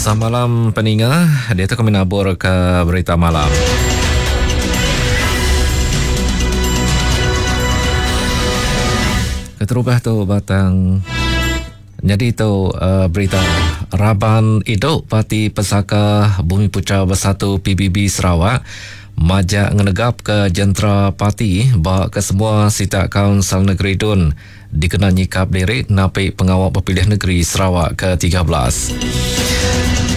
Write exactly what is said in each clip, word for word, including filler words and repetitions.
Samalam peninga, dia tu kami nabur ke berita malam. Keterubah tu batang jadi tu uh, berita Raban Iduk Parti Pesaka Bumi Putra Bersatu P B B Sarawak majak ngenegap ke jentera parti ba ke semua sitak Kaunsil Negeri Dun dikena nyikap diri napi pengawal berpilih negeri Sarawak ke tiga belas.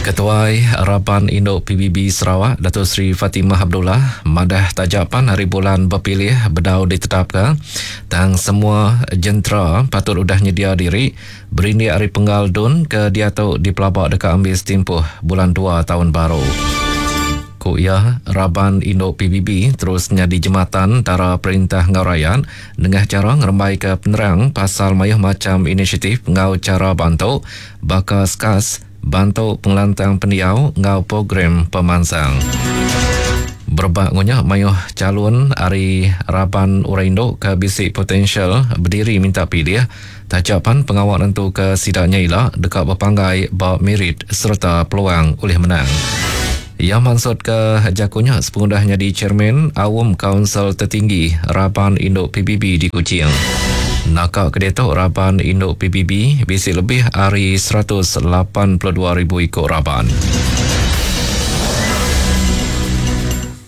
Ketuai Raban Induk P B B Sarawak Datuk Seri Fatimah Abdullah madah tajapan hari bulan berpilih bedau ditetapkan tang semua jentera patut udah nyedia diri berindik hari penggal Dun ke diatu di Pelabak dekat ambil setimpuh bulan dua tahun baru. Ku ia, Raban Induk P B B terus nyadi jematan antara perintah ngau rakyat nengah cara ngerembai ke penerang pasal mayuh macam inisiatif ngau cara bantu baka skas bantu pengelantang pendiau ngau program pemansang. Berebak ngunya mayuh calon ari Raban Orang Induk ke bisi potensial berdiri minta pilih tajapan pengawal nentu ke sidaknya ila dekat berpanggai ba merit serta peluang oleh menang. Ia maksud ke jakunya sepengudahnya di Chairman Awam Kaunsil Tertinggi Raban Induk P B B di Kuching. Nakak kedetok Raban Induk P B B bisi lebih ari seratus lapan puluh dua ribu ikut Raban.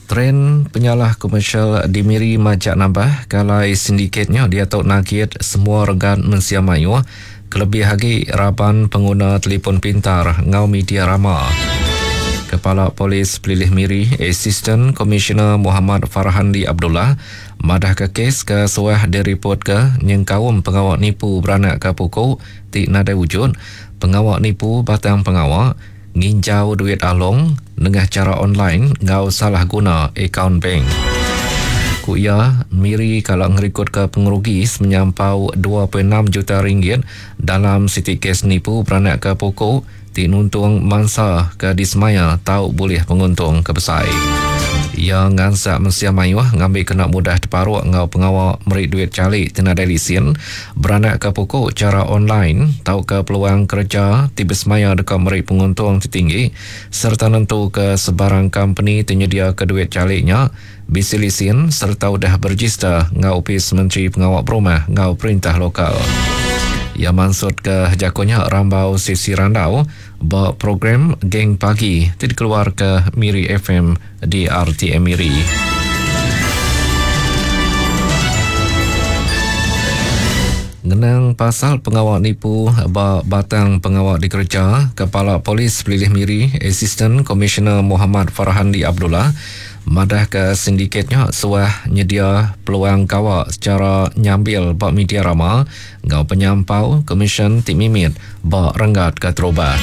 Tren penyalah komersial di Miri majak nambah kalai sindikatnya dia tok nagit semua regan mensia mayu kelebih lagi Raban pengguna telefon pintar ngau media rama. Kepala Polis Pelilih Miri, Assistant Commissioner Muhammad Farhandi Abdullah madah ke kes ke suah diripot ke nyengkaum pengawak nipu beranak ke pokok ti nadai wujud, pengawak nipu batang pengawak nginjau duit along nengah cara online ngau salah guna akaun bank. Ku ia, Miri kalau ngerikut ke pengerugi menyampau dua perpuluhan enam juta ringgit dalam siti kes nipu beranak ke pokok ti nuntung mangsa ke disemaya tau boleh penguntung ke besai. Ia ngansak mensia mayuh ngambil kena mudah terparuk ngau pengawal merik duit calik tenadai lisin beranak ke pokok cara online tau ke peluang kerja ti bersemaya dekat merik penguntung tertinggi serta nentu ke sebarang company tersedia ke duit caliknya bisi lisin serta udah berregister ngau Opis Menteri Pengawal Berumah ngau Perintah Lokal. Ia maksud ke jakonya rambau sisi randau ba program Geng Pagi ti dikeluar ke Miri F M di R T M Miri. Ngenang pasal pengawal nipu ba batang pengawal dikerja, Kepala Polis Pelilih Miri, Assistant Commissioner Muhammad Farhandi Abdullah madah ke sindikatnya suah nyedia peluang kawak secara nyambil bak media rama ngau penyampau komisen ti mimit bak renggat ke terubah.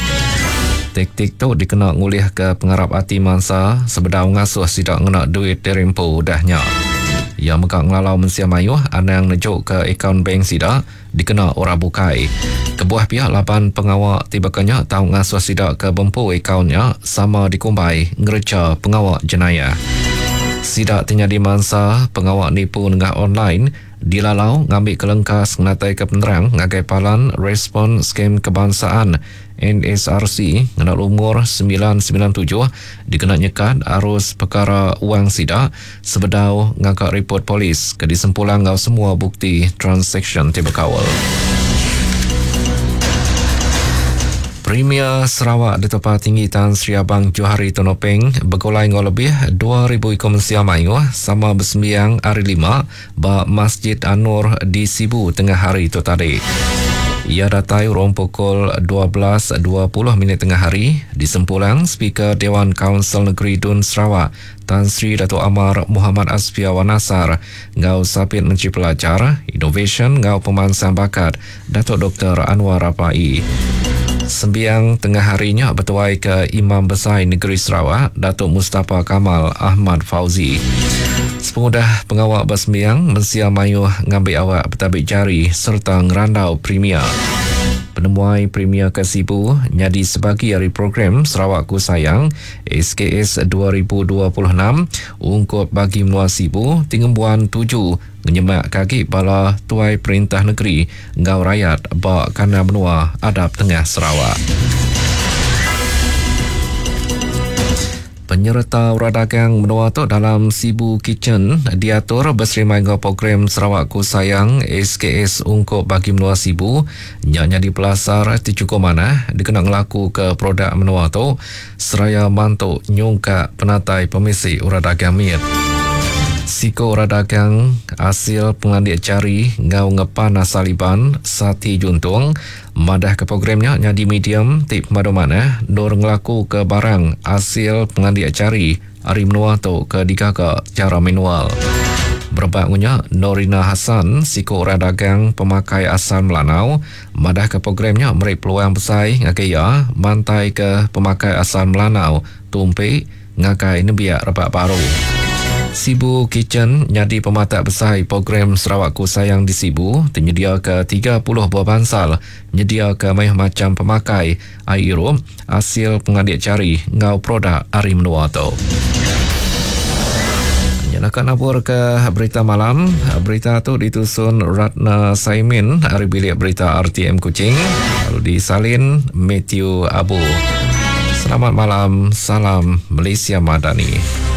Taktik tu dikena ngulih ke pengarap ati mangsa sebedau ngasuh sidak ngena duit terempu dahnya. Ia megak ngelalau mensia mayuh anang nejuk ke akaun bank sidak dikena orang bukai. Kebuah pihak lapan pengawak tiba kenya tau ngasuh sidak ke bempu akaunnya sama dikumbai ngereja pengawak jenayah. Sidak ternyadi mangsa pengawak nipu nengah online dilalau ngambil kelengkas ngatai ke penerang ngagai palan respon skem kebangsaan N S R C ngena umur sembilan sembilan tujuh dikena nyekat arus perkara wang sidak sebedau ngangkat report polis ke disempulang ngau semua bukti transaction ti berkawal. Premier Sarawak di Tempat Tinggi Tan Sri Abang Johari Tun Openg bergulai ngau lebih dua ribu ikut mensia mayuh sama bersembiang hari lima ba Masjid An-Nur di Sibu tengah hari itu tadi. Ia datai urung pukul dua belas dua puluh minit tengah hari di Sempulang Speaker Dewan Kaunsil Negeri Dun Sarawak Tan Sri Datuk Amar Muhammad Asfia Wanasar ngau Sapit Menteri Pelajar, Innovation ngau Pemansang Bakat Datuk Doktor Annuar Rapaee. Sembiang tengah harinya bertuai ke Imam Besar Negeri Sarawak Datuk Mustafa Kamal Ahmad Fauzi. Sepengudah pengawak bersembiang, mensia mayuh ngambil awak bertabik jari serta ngerandau Premier. Penemuai Premier ke Sibu nyadi sebagi dari program Sarawakku Sayang S K S dua ribu dua puluh enam ungkup bagi menua Sibu tingembuan tuju ngenyemak kaki bala tuai perintah negeri ngau rakyat ba kana menua adap tengah Sarawak. Penyereta orang dagang menua tu dalam Sibu Kitchen diatur berserimai dengan program Sarawakku Sayang S K S ungkup bagi menua Sibu nya nyadi pelasar ti cukup manah dikena ngelaku ke produk menua tu seraya mantu nyungkak penatai pemisi orang dagang mit. Siko orang dagang hasil pengelandik jari ngau ngepan asal Iban Sati Juntung madah ke programnya nyadi medium ti pemadu manah nur ngelaku ke barang hasil pengelandik jari ari menua tu ke digaga cara manual. Berebak ngunya Norina Hassan siko orang dagang pemakai asal Melanau madah ke programnya meri peluang besar ngagai ia mantai ke pemakai asal Melanau tumpi ngagai nembiak rebak baru. Sibu Kitchen nyadi pematak besar program Sarawakku Sayang di Sibu tersedia ke tiga puluh buah bansal nyedia ke mayuh macam pemakai air irup hasil pengelandik jari ngau produk ari menua tu. Nak nabur ke berita malam. Berita tu ditusun Ratna Saimin ari bilik berita R T M Kuching lalu disalin Matthew Abu. Selamat malam, salam Malaysia Madani.